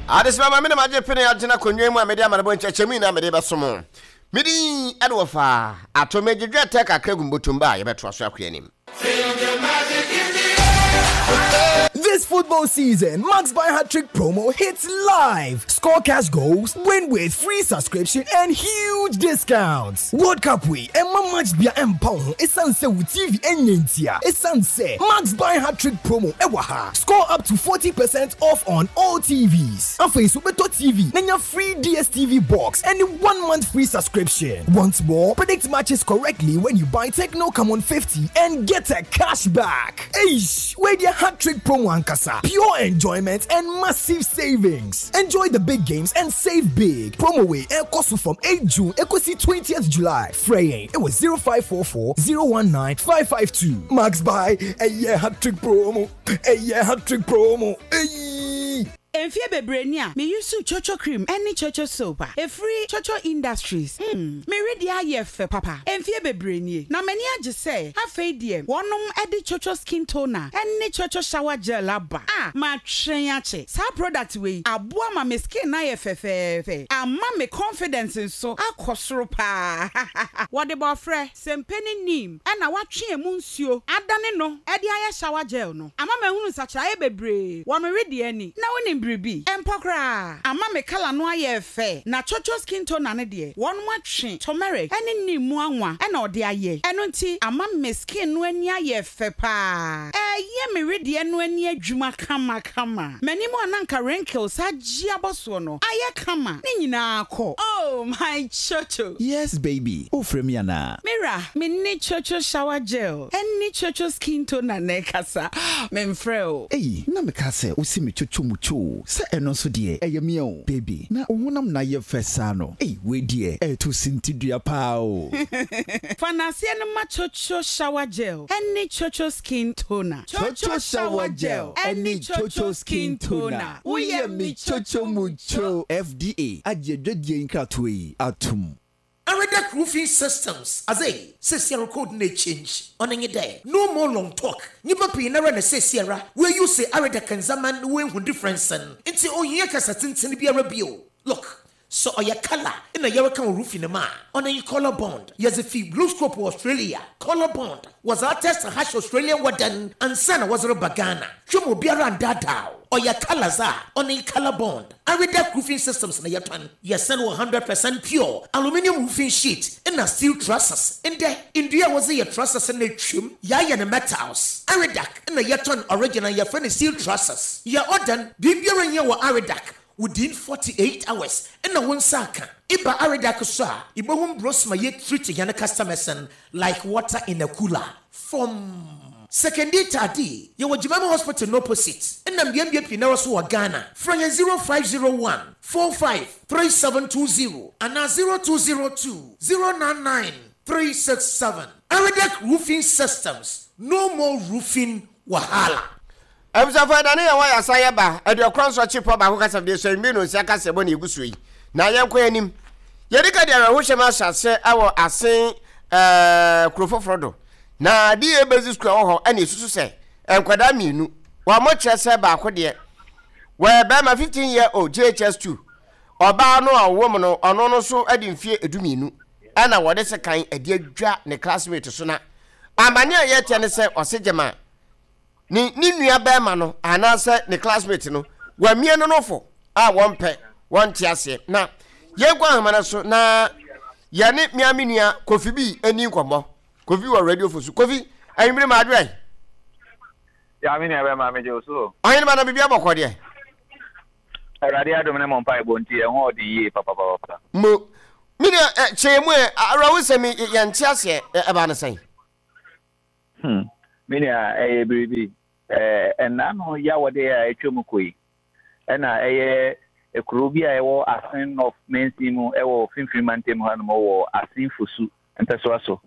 Adesima ma me na magye pene agyina akonnwa mu a mede amanebɔ nkyɛkyɛmu nyinaa mede bɛsom. Me din ɛne wɔfa ato megye dwetɛ kakra gu mbotom ba a yɛbɛtoa so akɔ anim. This football season, Max Buy Hat Trick promo hits live. Score cash goals, win with free subscription and huge discounts. World Cup wei, ɛma match bia ɛmpa wo ho ɛsiane sɛ wo TV ɛnyɛ ntia. Ɛsiane sɛ Max Buy Hat Trick promo ɛwɔ ha. Score up to 40% off on all TVs. Afei so wobɛtɔ TV na nya free DSTV box ɛne 1 month free subscription. Want more? Predict matches correctly when you buy Tecno Camon 50 and get a cash back. Eish, wei deɛ hat trick promo ankasa. Pure enjoyment and massive savings. Enjoy the big games and save big. Promo wei ɛkɔ so from 8 June ekosi 20th July. Frɛ yɛn ɛwɔ 0544 019 552. Max Buy, ɛyɛ hat trick promo. Ɛyɛ hat trick promo. Eyy. Mfie bebree ni a meyi so Chocho cream ne Chocho soap a ɛfiri Chocho Industries. Mere deɛ ayɛ fɛ papa. Mfie bebree nie na m'ani agye sɛ afei deɛ wɔnom de Chocho skin toner ne Chocho shower gel aba a matwɛn akyɛ. Saa product wei aboa ma me skin no ayɛ fɛfɛɛfɛ, ama me confidence nso akɔ soro paa. Wɔde bɔɔfrɛ, sempe ne neem ɛna watwe emu nsuo adane no de ayɛ shower gel no. Ama mahunu nsakyeraeɛ bebree wɔ me wedeɛ ani. Na wonim biribi? Ɛmpɔ koraa. Ama me colour no ayɛ fɛ. Na Chocho skin toner no deɛ, wɔnom atwe turmeric ne neem mu anwa ɛna ɔde ayɛ. Ɛno nti ama me skin no ani ayɛ fɛ paa. Ɛyɛ me wedeɛ no ani adwuma kamakama. M'anim a na anka wrinkles agye abɔ soɔ no ayɛ kama. Ne nyinaa kɔ. Oh my Chocho! Yes baby, wofrɛ me anaa? Mira, me ne Chocho shower gel ne Chocho skin toner na ɛkasa. Memfrɛ o. Ei, na meka sɛ wosi me Chocho mu cho sɛ ɛno nso deɛ ɛyɛ me o. Baby, na wo honam na ayɛ fɛ saa no. Ei, wei deɛ ɛɛto sintidua paa o. Fa n'aseɛ no ma Chocho shower gel ne Chocho skin toner. Chocho shower gel ne Chocho skin toner. Woyɛ me Chocho mu cho. FDA agye adwadie nkratoɔ yi atom. Aredec Roofing Systems adze sesiara code no change. Ɔno nye dɛ, no more long talk. Nyimpa pii nara na sesiara woe-use Aredec ndzɛmba no woehu difference no. Ntsi ohia kasa tsentsen biara bio. Look, sɛ ɔyɛ colour na yɛreka wɔ roofing mu a, ɔno nye Colour Bond. Yɛdze fi BlueScope wɔ Australia. Colour Bond, wɔdze atest harsh Australian weather no ansa na wɔdze reba Ghana. Hwɛ ma obiara nndaadaa wo. Ɔyɛ colours a, ɔno nye Colour Bond. Aredec Roofing Systems na yɛtɔn. Yɛsɛn wɔ 100% pure aluminium roofing sheet na steel trusses. Ndɛ, ndua a wɔdze yɛ trusses no etwa mu, yɛayɛ no metals. Aredec na yɛtɔn original, yɛfrɛ no steel trusses. Yɛ order no, biribiara nnyɛ wɔ Aredec within 48 hours na wo nsa aka. Eba Aredec so a, ibohu mbrɛ ma yɛ treat hɛn customers no like water in a cooler. From Sekondi Taadi, yɛwɔ Jimami Hospital no opposite. Ɛna mbeambea pii nara so wɔ Ghana. Frɛ yɛn 0501 45 3720 anaa 0202 099 367. Aredec Roofing Systems, no more roofing wahala. Abusuafo, ɛda ne yɛn wɔ yɛasa yɛba aduokron nso akyi pɔ baako kasa deɛ sɛ mmienu nsia kasa ɛbɔ ne egu so yi na yɛnkɔ anim. Yɛdi ka de awerɛhohyɛm ahyɛ ase wɔ Asen kuro foforɔ do. Na DA Basic School a ɛwɔ hɔ ɛna esusu sɛ nkwadaa mmienu wɔn kyerɛ sɛ baako deɛ wɔyɛ bɛrima 15 year old JHS 2, ɔbaa no a ɔwɔ mu no ɔno no nso de mfie 12 ɛna wɔde sekan ɛde adwa ne classmate so. Na amane a yɛteɛ ne sɛ ɔse gyema ne nua bɛrima no anaasɛ ne classmate no wamie no nofo a wɔmpɛ wɔnte aseɛ. Na yɛnkɔ ahoma no so na yɛne mmea me nua Kofi bi ani nkɔmmɔ. Kofi wɔ Radio Fo so. Kofi, anwummere ma adwerɛ. Ya me nua bɛma megye wo so. Ɔhene ma na biribi abɔkɔ deɛ. Awurade adom ne mo mpaebɔ nti ɛho ɔden yie papapapa. Mo me nua kyerɛ mu ɛ awerɛho sɛm yɛnte aseɛ, ɛbaa no sɛn? Me nua, ɛyɛ biribi. Ɛnna no yawɔde a atwa mu kɔ yi, ɛna ɛyɛ kuro bi a ɛwɔ Asen North mansin mu ɛwɔ Finfin mantam hanom wɔ Asen Fosu mpɛsoa so.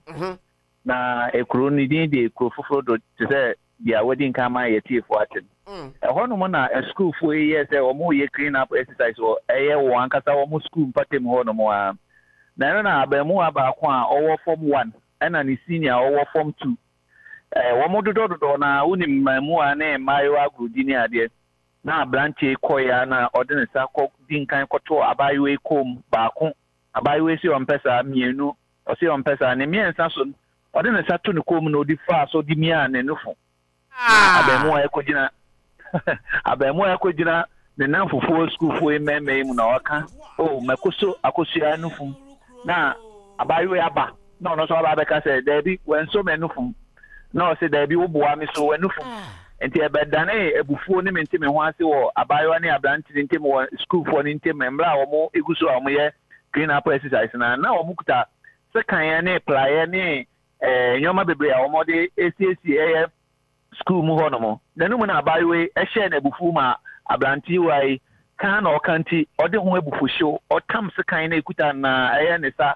Na ekuro no din de Kuro Foforɔ Do, te sɛ deɛ wadi nkan ama yɛtiefoɔ ate no. Ɛhɔnom na asukuufoɔ yi yɛɛ sɛ wɔreyɛ clean up exercise wɔ ɛyɛ wɔn ankasa wɔn sukuu mpɔtam hɔnom ara. Na ɛno na abarimaa baako a ɔwɔ form one ɛna ne senior a ɔwɔ form two. Wɔn dodɔdodɔ na wonim mmaamua ne mmaayewa agorɔdi ne adeɛ. Na aberanteɛ yi kɔeɛ ara na ɔde ne nsa kɔ di nkan kɔtoo abaayewa yi kɔn mu baako. Abaayewa yi se ɔmpɛ saa, mmienu, ɔse ɔmpɛ saa. Ne mmiɛnsa so no, ɔde ne nsa to ne kɔn mu na ɔdi faa so de miaa ne nufo. Na abarimaa yi kɔgyina abarimaa yi kɔgyina ne nnamfofoɔ sukuufoɔ yi mmarima yi mu na ɔka, Oh, makoso akosua nufum. Na abaayewa yi aba na ɔno nso aba abɛka sɛ, Daabi, wanso m'anufum. Na ɔse, Daabi, woboa me so w'anufum. Nti ɛbɛdanee abufuo ne mente me ho ase wɔ abaayewa ne aberante no ntam wɔ sukuufoɔ no ntam mmerɛ a wɔn gu so a wɔyɛ clean up exercise no a na wɔn kuta sekan ne praeɛ ne nneɛma bebree a wɔde siesie ɛyɛ sukuu mu hɔnom. N'anom na abaayewa yi hyɛɛ no abufuw ma aberantewa yi ka na ɔka nti ɔde ho abufuhyew, ɔtam sekan na ekuta no na ɛyɛ ne sa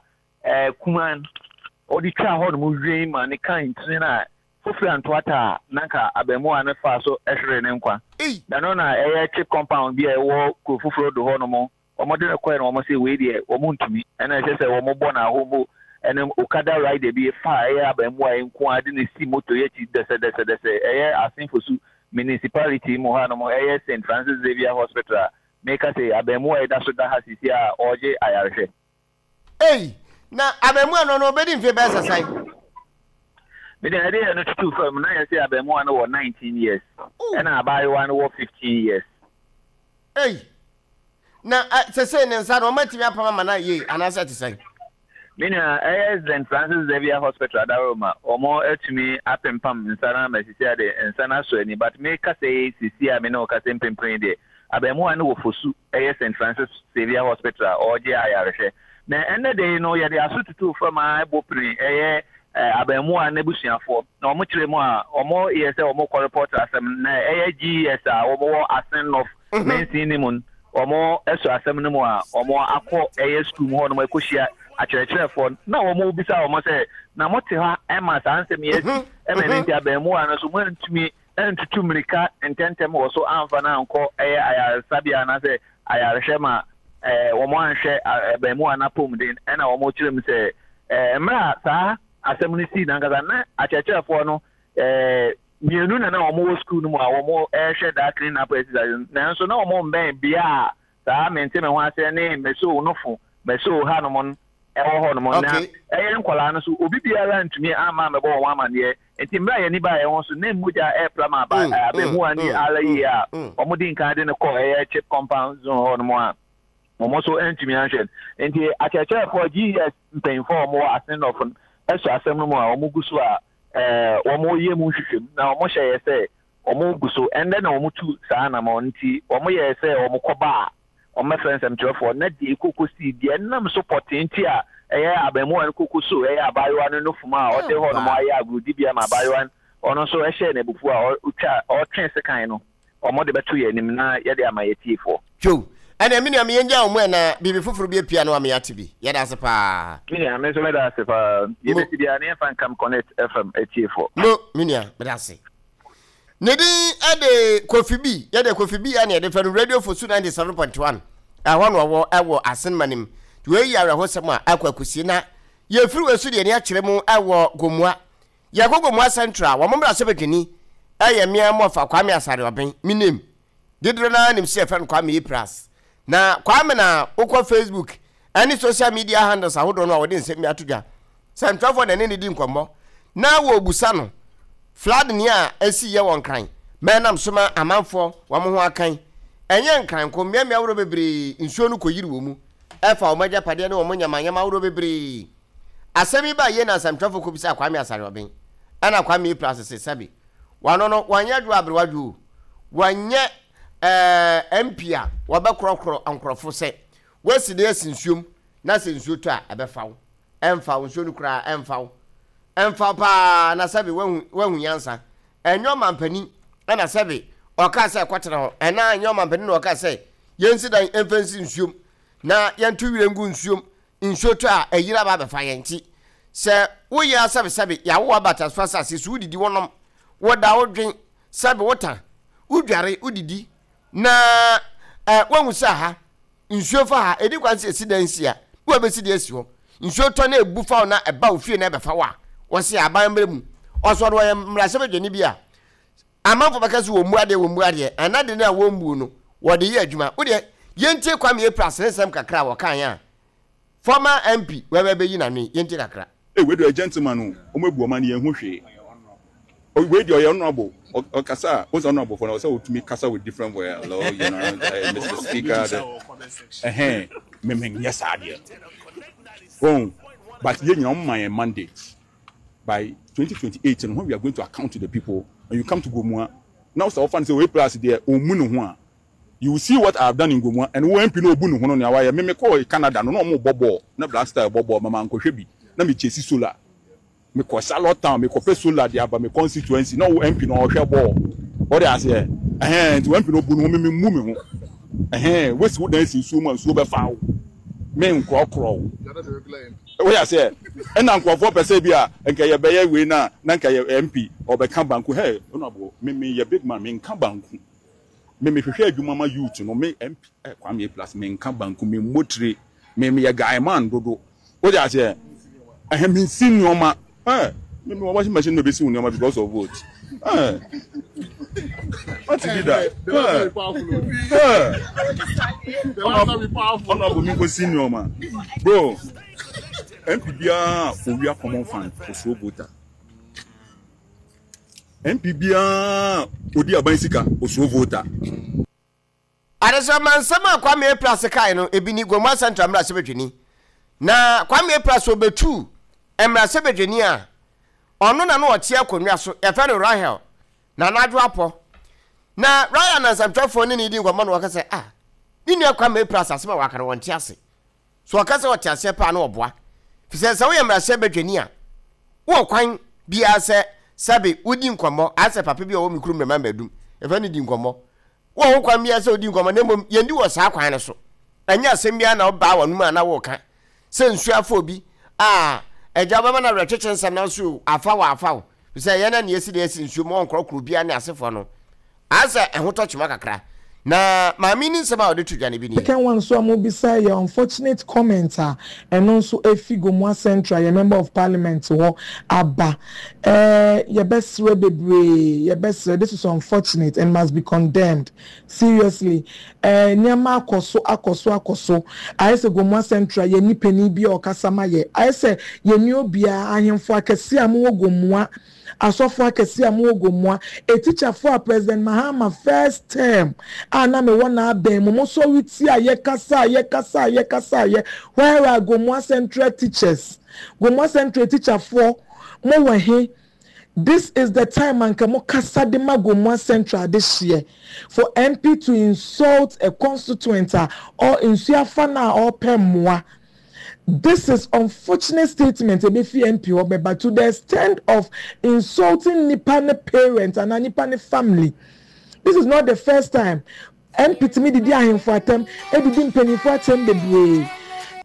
kumaa no, ɔde twaa hɔnom wien ma ne kan ntini no a fofiri antoata a na anka abarimaa no faa so hweree ne nkwa. Na ɛno na ɛyɛ chip compound bi a ɛwɔ kuro foforo do hɔnom. Wɔde no kɔe no wɔn se wei deɛ wɔn ntumi, ɛna ɛsɛ sɛ wɔn bɔ no ahombo. Ɛna Okada rider bi faa ɛyɛ abaamua yi nko ara de no si moto yi akyi dɛsɛdɛsɛdɛsɛ, ɛyɛ Asin Fosu Municipality mu hanom, ɛyɛ Saint Francis Xavier Hospital a meka sei, abaamua yi da so da ha seesei a ɔregye ayarehwɛ. Ei, na abaamua no, ɔno ɔbɛdi mfe bɛyɛ sɛ sɛn? Me deɛ ɛde yɛ no tutu fam na yɛse abaamua no wɔ 19 years, ɛna abaayewa no wɔ 15 years. Ei, Na sesei ne nsa no, wɔatumi apam ama no ayɛ yie anaasɛ ɛte sɛn? Me nua, ɛyɛ St. Francis Xavier Hospital Adaworoma, wɔatumi apempam nsa no ama sisi a deɛ nsa no asɔ ani but me kasa yi sisi a me ne wo kasa yi mprempren yi deɛ abaamua no wɔ Fosu ɛyɛ St. Francis Xavier Hospital a ɔregye ayarehwɛ. Na ɛnnɛ da yi no yɛde aso tutuu fam ara bɔ pini ɛyɛ abaamua no abusuafoɔ na wɔkyerɛ mu a wɔyɛ sɛ wɔrekɔ report asɛm no na ɛyɛ GES a wɔwɔ Asen North mansin no mu no, wɔasɔ asɛm no mu a, wɔakɔ ɛyɛ sukuu mu hɔnom akɔhyia akyerɛkyerɛfoɔ no, na wɔrebisa wɔn sɛ, Na mote hɔ ma saa nsɛm yi asi, ɛma ɛno nti abaamua no nso moantumi antutu mmirika ntɛmntɛm wɔ so amfa no ankɔ ɛyɛ ayaresabea anaasɛ ayarehwɛ ma wɔanhwɛ abaamua no apɔmuden? Ɛna wɔkyerɛ mu sɛ, mmerɛ a saa asɛm no sii no ankasa, na akyerɛkyerɛfoɔ no mmienu na na wɔwɔ sukuu no mu a wɔrehwɛ daa clean up exercise no, nanso na wɔmmɛn bea a saa mente me ho ase ne Mesow no fo, Mesow hanom no wɔ hɔnom. Na ɛyɛ nkwadaa no so, obi biara antumi amma ammɛbɔ wɔn amanneɛ. Enti mmerɛ a yɛn ani baa yɛn ho so, na mogya repra ma aba, abaamua no ara yie a wɔdi nkan de no kɔɔ ɛyɛ chip compound zone hɔnom a wɔn nso antumi anhwɛ no. Enti akyerɛkyerɛfoɔ, GES mpanyinfoɔ a wɔwɔ Asen North no sɔ asɛm no mu a wɔgu so a wɔyɛ mu nhwehwɛmu na wɔhyɛ yɛ sɛ wɔgu so. Ɛnnɛ na wɔtu saa anamɔn nti wɔyɛɛ sɛ wɔkɔba a wɔmmɛfrɛ nsɛmtwerɛfoɔ na deɛ ɛkɔkɔsii, deɛ ɛnam so pɔtee nti a ɛyɛ abaamua no kɔkɔsoo ɛyɛ abaayewa no nofum a ɔde hɔnom ayɛ agorɔdibea ma abaayewa no, ɔno nso hyɛɛ no abufuo a ɔtwa ɔtwee sekan no. wɔde bɛto yɛn anim na yɛde ama yɛn atiefoɔ. Joe, Ɛnneɛ me nua me yɛngyaa wo mu ɛ na biribi foforo bi apue a na wama yɛate bi. Yɛda ase paa. Me nua, me nso meda ase paa. Deɛ ɛbɛsi biara no yɛmfa nkam Connect FM atiefoɔ. Mo, me nua, meda ase. Ne din de Kofi B. Yɛde Kofi B ɛne yɛde frɛ no Radio Fosu 97.1. Ɛhɔ na ɔwɔ ɛwɔ Asenma no mu. Nti wei yɛ awerɛhosɛm a akɔ akɔsie na yɛfiri wei so deɛ ani akyerɛ mu ɛwɔ Gomoa. Yɛkɔ Gomoa Central a, wɔn mmarahyɛbadwani yɛ mmea mmɔfa Kwame Asare Ɔben, me name. Dodoɔ no ara nim sɛ yɛfrɛ no Kwame Epras. Na Kwame na wokɔ Facebook ne social media handles ahodoɔ no a wɔde nsɛm bi ato dwa. Sɛntwerɛfoɔ na ɛne no di nkɔmmɔ na wɔrebusa no flood nea ɛsi yɛ wɔ Nkran ma ɛnam so ma amanfoɔ wɔn ho akan. Ɛnyɛ Nkran nko, mmeammea ahodoɔ bebree nsuo no kɔyiri wɔ mu, ɛfa wɔn agyapadeɛ ne wɔn nyamanyama ahodoɔ bebree. Asɛm yi baa yie na nsɛmtwerɛfoɔ kɔbisaa Kwame Asare-Obeng ɛna Kwame Aprah sese sɛbe wano no wanyɛ adwo aberewa dwo o, wanyɛ ɛɛ MP a wɔbɛkorɔkorɔ nkorɔfo sɛ woasi dan asi nsuom na sɛ nsuo tɔ a ɛbɛfa wo, ɛmfa wo, nsuo no koraa ɛmfa wo, ɛmfa wo paa na sɛbe woahu woahu nyansa. Ɛnyɛ ɔmampanin ɛna sɛbe ɔkaa sɛ kɔtena hɔ ɛna ɛnyɛ ɔmampanin na ɔkaa sɛ yɛnsi dan ɛmfa nsi nsuom na yɛnto wira ngu nsuom Nsuo tɔ a, ayiri aba abɛfa yɛn nti, sɛ woyɛ ara sɛbesɛbe, yɛawo wo aba atasefo asase so, wodidi, wonom, woda, wodwen, sɛbe, wota, wodware, wodidi, na eh, woahu sɛ ha, nsuo fa ha, ɛdi kwan sɛ yɛsi dan si a, na wɔbɛsi de asi hɔ. Nsuo tɔ na ɛbu fa wo na ɛba wo fie na ɛbɛfa wo a, wɔse aban mmerɛ mu. Ɔsɔ no ɔyɛ mmarahyɛbadwani bi a, Amanfoɔ bɛka sɛ wɔmmu adeɛ, wɔmmu adeɛ, ɛna de no a wɔmmuo no, wɔde yɛ adwuma. Wo deɛ, yɛntie Kwame Apras ne nsɛm kakra a wɔkaeɛ a former MP wɛwɛ bɛyi n'ano yi, yɛntie kakra. Ei wei deɛ ɔyɛ gentleman o, ɔmo abu ɔman no yɛn hu hwee. Wei deɛ ɔyɛ honourable, ɔkasa a, wohu sɛ honourable foɔ no ɛwɔ sɛ ɔtumi kasa with different voice, hello, you know, Mister Speaker, the, ɛhɛn, me me nyɛ saa deɛ. Wohu, but yɛn nyinaa ɔmo ma yɛn mandate. By 2028 no, when we are going to account to the people, and you come to Gomua, na sɛ wofa no sɛ A plus deɛ ɔmmu ne ho a, you will see what I have done in Gomua, and wo MP no ɔbu ne ho no nea wayɛ. Me mekɔɔ Canada no, na wɔn rebɔ bɔɔl, na Black Star rebɔ bɔɔl, ma mankɔhwɛ bi, na me chase solar. Mekɔ Charlotte Town, mekɔpɛ solar de aba me constituency, na wo MP no ɔrehwɛ bɔɔl. Wode aseɛ? Ɛhɛn, nti wo MP no ɔbu ne ho, me memmu me ho. Ɛhɛn, woasi wo dan si nsuo mu a, nsuo bɛfa wo. Menkorɔkorɔ wo. Woyɛ aseɛ? Ɛna nkurɔfoɔ pɛ sɛ bi a nka yɛbɛyɛ wei no a na nka yɛ MP ɔbɛka banku. Hey, honourable, me meyɛ big man, menka banku. Me mehwehwɛ adwuma ma youth no, me MP eh, Kwame A plus, menka banku, memmɔ tire, me meyɛ guy man dodo. Woyɛ aseɛ? Ɛhɛ, mensi nneɛma. Hey, me mewɔ washing machine na mebɛsi wo nneɛma because of vote. Hey, what you did that? Hey, hey. Honorable, me nkosi nneɛma. Bro, MP biara owia common fund, osuro voter. MP biara odi aban sika, osuro voter. Adesamma nsɛm a Kwame Appiah kae no, ebi ni, Gomoa Central mmarahyɛbadwani. Na Kwame Appiah sɛ obetu mmarahyɛbadwani a, ɔno na na ɔte akonnwa so, yɛfrɛ no Rahel Nana Adwo Apɔ. Na Rahel na nsɛmtwerɛfoɔ ne no redi nkɔmmɔ na wɔka sɛ, ah, ne nua Kwame Appiah asɛm a waka no wɔnte ase. So ɔka sɛ ɔte aseɛ paa na ɔboa? Fisɛ sɛ woyɛ mmarahyɛbadwani a, wowɔ kwan biara sɛ sɛbe wodi nkɔmmɔ, ayɛ sɛ papa bi a ɔwɔ me kurom Mmɛma Mmadum, yɛfrɛ no di nkɔmmɔ. Wowɔ ho kwan biara sɛ wodi nkɔmmɔ, na mmom yɛndi wɔ saa kwan no so. Ɛnyɛ asɛm biara na wobaa w'anom a na woreka. Sɛ nsuo afa obi a, agya wobɛma no awerɛkyekye nsɛm nanso afa wo afa wo. Efisɛ yɛn na nea esi na esi nsuo mu ɔnkorɔkorɔ obiara ne asefoɔ no. Ayɛ sɛ ɛho tɔ kyema kakra. Na maame yi ne nsɛm a ɔde to dwa no bi nie. Second one nso a mobisa yɛ unfortunate comment a ɛno nso ɛfi Gomoa Central yɛn member of parliament hɔ aba. Eh yɛbɛsrɛ bebree, yɛbɛsrɛ, this is unfortunate and must be condemned seriously. Eh nneɛma akɔ so akɔ so akɔ so, ayɛ sɛ Gomoa Central yɛnni panin bi a ɔkasa ma yɛ, ayɛ sɛ yɛnni obiara, ahemfo akɛseɛ a mowɔ Gomoa, Asɔfo akɛse a mowɔ Gomoa, etikyafoɔ a President Mahama first term a na mewɔ n'abɛn mu, mosɔre tiaeɛ, kasaeɛ, kasaeɛ, kasaeɛ, where are Gomoa Central teachers? Gomoa Central etikyafoɔ, mowɔ he? This is the time anka mokasa de ma Gomoa Central adehyeɛ. For MP to insult a constituent a ɔ nsuo afa no a ɔrepɛ mmoa. This is unfortunate statement ebefi MP hɔ bɛba to the extent of insulting nipa ne parent anaa nipa ne family. This is not the first time MP tumi didi ahemfo atɛm, edidi mpanyinfo atɛm bebree.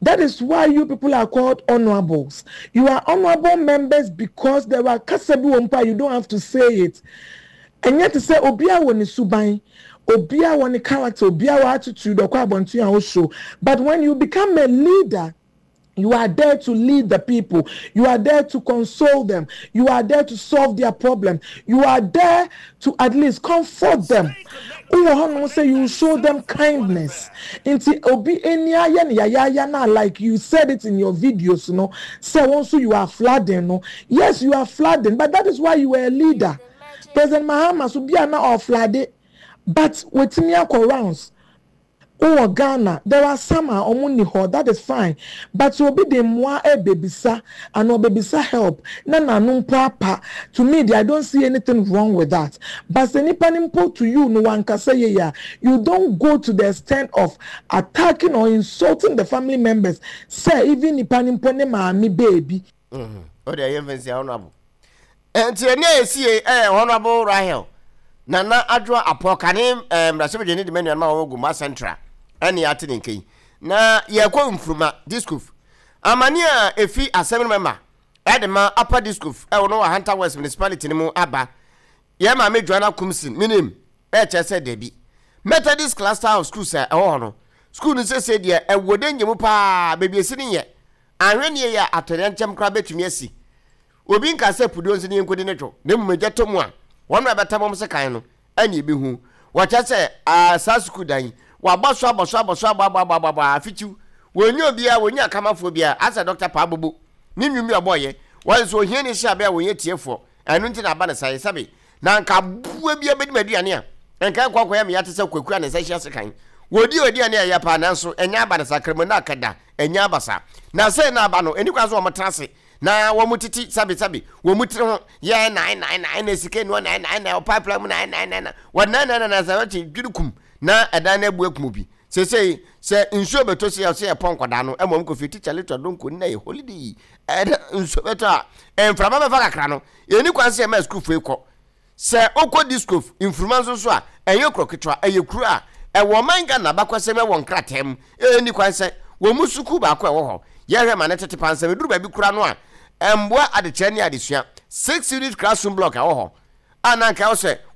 That is why you people are called honourables. You are honourable members because there are kasa bi wɔ mpo a you don't have to say it. Ɛnyɛ te sɛ obiara wɔ ne suban, obiara wɔ ne character, obiara wɔ attitude, ɔkɔ abɔnten a ɔshow. But when you become a leader, you are there to lead the people. You are there to console them. You are there to solve their problem. You are there to at least comfort them. Wowɔ hɔnom sɛ you show them kindness. Nti obi ani ayɛ no yayaaya no a like you said it in your videos no sɛ wo nso you are flooding no. Yes, you are flooding but that is why you are a leader. President Mahama so bi a na ɔflade but watumi akɔ rounds. Wowɔ Ghana there are some a ɔmo nni hɔ that is fine but sɛ obi de mmoa ɛɛbɛbisa anaa ɔbɛbisa help na n'ano mpo apa to me deɛ I don't see anything wrong with that but sɛ nipa no mpo to you no wankasa yie a you don't go to the extent of attacking or insulting the family members sɛ even nipa no mpo ne maame baabi O deɛ yɛmfa nsi honorable. Nti ɛne a ɛsi yei ɛyɛ Honorable Rahel Nana Adwoa Apɔ kane eh, mmarahyɛbadwani de ma nuanom a wɔwɔ Gomua Central ɛne ate ne nka yi. Na yɛkɔ Nfuruma Diskuf. Amane a ɛfi asɛm no mɛma ɛde ma Upper Diskuf ɛwɔ no wɔ Ahanta West Municipality no mu aba. Yɛn maame Joanna Kumsin menim ɛkyerɛ sɛ dabi. Methodist Cluster of Schools a ɛwɔ hɔ no, school no sese deɛ ɛwɔ danger mu paa, baabi ɛsi no nyɛ. Anhwɛ yie a, atɔyerɛnkyɛm koraa bɛtumi asi. Obi nka sɛ puduo nso ne yɛnkɔdi ne dwo, na mmom egya tɔ mu a, Wɔn a ɛbɛtam wɔn sekan no ɛne ɛbɛhu. Wɔkyerɛ sɛ, aa, saa sukuu dan yi, wɔabɔ so abɔ so abɔ so abɔ abɔ abɔ abɔ abɔ afikyiw. Wɔnnya obiara, wɔnnya akamafoɔ biara, asɛ Dɔkta Paa Bobo ne nnwom bi a ɔbɔeɛ. Wɔse sɛ ohiani hyɛ abɛ a wɔnyɛ tiefoɔ. Ɛno nti na aba no saa yi. Sɛbe, na anka aboa biara bɛdi m'aduane a, anka ɛnkɔ nkɔyɛ me ya te sɛ kwaku a ne nsa hyia sekan. Wɔdi aduane a ɛyɛ paa nanso ɛnyɛ aba no saa, Kramono aka da, ɛnyɛ aba saa. Na sei na aba no, ɛnni kwan sɛ wɔtena ase na wɔtete sɛbesɛbe wɔn tiri ho yɛ nan nan nan na sika nua nan nan nan ɔpaapaa mu nan nan nan nan wɔnan nan nan nan sɛ wɔte dwiri kum na ɛdan no abu akum obi. Seesei sɛ nsuo bɛtɔ sei a sɛ yɛpɔ nkwadaa no ɛma wɔn kɔ fie tikya little donko nna yɛ holiday ɛna nsuo bɛtɔ a mframa bɛfa kakra no ɛni kwan sɛ yɛma sukuufoɔ yi kɔ. Sɛ wokɔ Diskof, Mfuruma nso so a, ɛnyɛ kuro ketewa, ɛyɛ kuro a ɛwɔ ɔman Ghana abakɔsɛm ɛwɔ nkrataa mu. Ɛnni kwan sɛ wɔn mu sukuu baako a ɛwɔ hɔ yɛhwɛ ma no tete pansam. Ɛduru baabi koraa no a, ɛmmoa adekyerɛ ne adesua. Six unit classroom block a ɛwɔ hɔ a na anka ɛwɔ sɛ.